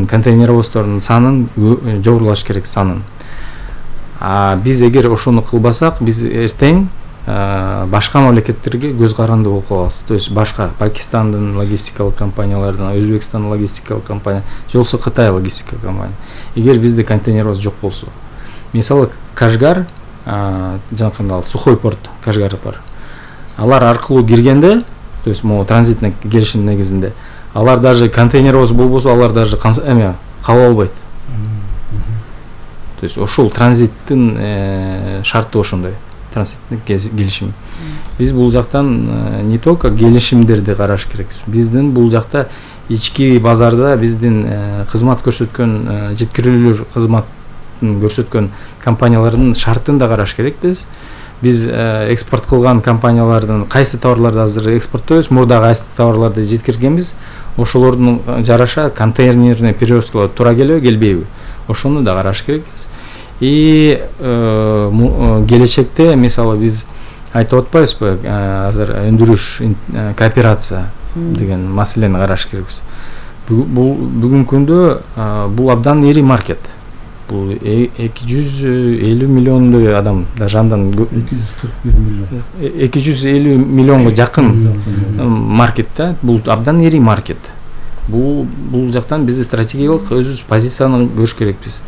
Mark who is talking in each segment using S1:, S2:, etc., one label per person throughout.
S1: биздин контейнеровоздордун санын жогорулаш керек санын. Биз эгер ошону кылбасак, биз эртең башка мамлекеттерге көз каранды болуп калабыз. То есть башка Пакистандын логистикалык компаниялардан, Өзбекстандын логистикалык компания, же болбосо Кытай логистикалык компания. Эгер бизде контейнеровоз жок болсо, мисалы Кашгар, жанакындай сухой порт Кашгар бар. Алар аркылуу киргенде, то есть могу транзитный келишим негизинде, алар даже контейнеровоз болбосо, алар даже кабыл албайт. То есть ошол транзиттин шарты ошондой. Транзиттик келишим. Биз бул жактан не только келишимдерди караш керекпиз. Биздин бул жакта ички базарда биздин кызмат көрсөткөн, жеткирүүлөр кызматын көрсөткөн компаниялардын шартын да караш керекпиз. Биз экспорт кылган компаниялардын кайсы товарларды азыр экспорттойбуз, мурда кайсы товарларды жеткиргенбиз, ошолордун жараша контейнерный перевозкалар туура келеби, келбейби? Ошону да караш керекпиз. И келечекте мисалы биз айтып атпайбызбы, азыр өндүрүш кооперация деген маселени караш керекпиз. Бүгүнкү күндө бул абдан ири маркет. Бул 250 миллиондой адам, даже андан 250 миллионго жакын маркет да. Бул абдан ири маркет. Бул жактан биз стратегиялык өзүбүз позицияны көрүш керекпиз.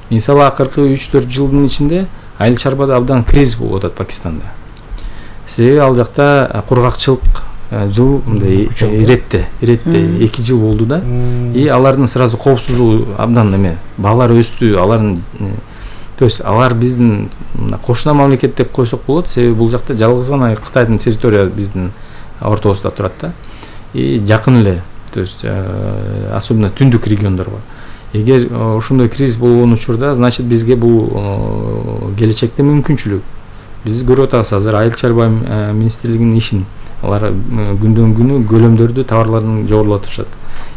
S1: Мисалы акыркы 3-4 жылдын ичинде айыл чарбада абдан кризис болуп атат Пакистанда. Себеби ал жакта кургакчылык жыл мындай иретте 2 жыл болду да. И алардын сразу коопсуздугу абдан баалар өстү, алардын, то есть алар биздин кошуна мамлекет деп койсок болот, себеби бул жакта жалгыз гана Кытайдын территория биздин ортобузда турат да. И жакын эле, то есть особенно түндүк региондорго. Эгер ошондой кризис болгон учурда, значит бизге бул келечекте мүмкүнчүлүк. Биз көрүп атабыз азыр айыл чарба министрлигинин ишин. Алар күндөн күнү көлөмдөрдү, товарлардын жогорулатышат.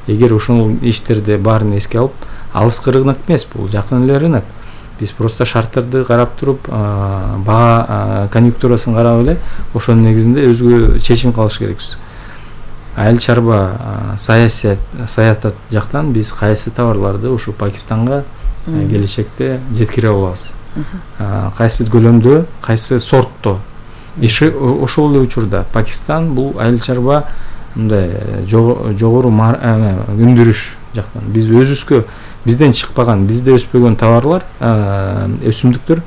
S1: Эгер ошол иштерди баарын эске алып, алыскы рынок эмес, бул жакын эле рынок. Биз просто шарттарды карап туруп, баа конъюнктурасын карап эле ошонун негизинде өзгө чечим кылыш керекпиз. Айыл чарба саясат жактан биз кайсы товарларды ушу Пакистанга келечекте жеткире алабыз. Кайсы көлөмдө, кайсы сортто. Иши ошол эле учурда Пакистан бул айыл чарба мындай жогору өндүрүш жактан биз өзүбүзгө бизден чыкпаган, бизде өспөгөн товарлар, өсүмдүктөр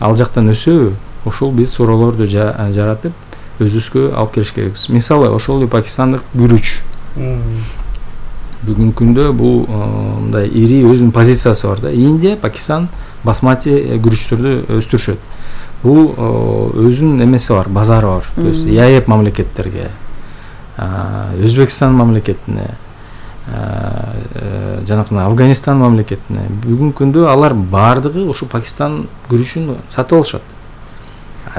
S1: ал жактан өсөбү, ошол биз суроолорду жаратып өзүбүзгө алып келиш керекпиз. Мисалы ошол эле пакистандык күрүч. Бүгүнкү күндө бул мындай ири өзүнүн позициясы бар да. Индия, Пакистан басмати күрүчтөрдү өстүрүшөт. Бул өзүнүн эмеси бар, базары бар. То есть ЯЭП мамлекеттерге, Өзбекстан мамлекетине, жанакына Афганистан мамлекетине бүгүнкү күндө алар баардыгы ушу Пакистан күрүчүн сатып алышат.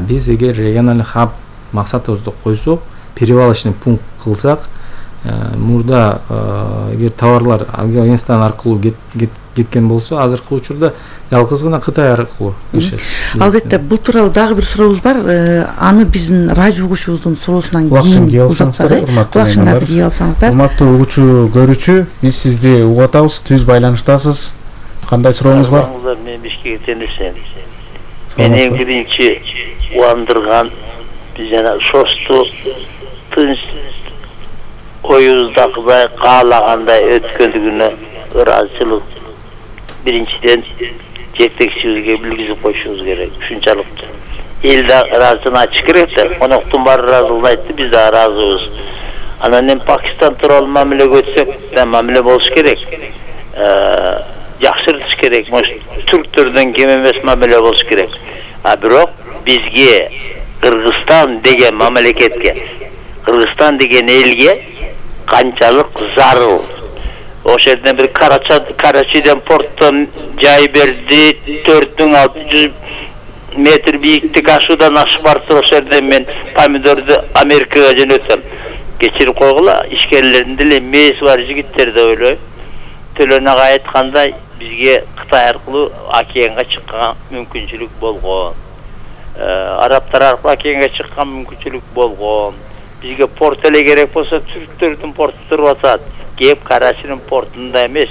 S1: Биз эгер региональный хаб максатыбызды койсок, перевалочный пункт кылсак, мурда эгер товарлар Афганистан аркылуу кеткен болсо, азыркы учурда жалгыз гана Кытай аркылуу киришет.
S2: Албетте, бул тууралуу дагы бир сурообуз бар. Аны биздин радио угуучубуздун суроосунан кийин узатсак, кулакчындарды кийип алсаңыздар. Урматтуу
S3: угуучу, көрүүчү, биз сизди угуп атабыз, түз байланыштасыз. Кандай сурооңуз бар?
S4: Мен Бишкектен эсен. Мени биринчи убандырган биз жана шосту тынч оюбуздагыдай каалагандай өткөндүгүнө ыраазычылык биринчиден жетекчибизге билгизип коюшубуз керек. Ушунчалык эл да ыраазычылыгын ачыш керек да. Коноктун баары ыраазылыгын айтты, биз да ыраазыбыз. Анан эми Пакистан тууралуу мамилеге өтсөк, мамиле болуш керек. Жакшыртыш керек. Түрктөрдөн кем эмес мамиле болуш керек. Бирок бизге Кыргызстан деген мамлекетке, Кыргызстан деген элге канчалык зарыл. Ошол жерден бир Карачиден порттон жай берди, 4600 метр бийиктик ашуудан ашып барса, ошол жерден мен помидорду Америкага жөнөтөм. Кечирип койгула, ишкерлердин деле мээси бар жигиттер деп ойлойм. Төлөн ага айткандай, бизге Кытай аркылуу океанга чыккан мүмкүнчүлүк болгон. Арабтар аркылуу океанга чыккан мүмкүнчүлүк болгон. Бизге порт эле керек болсо, түрктөрдүн порту туруп атат. Кеп Карачинин портунда эмес,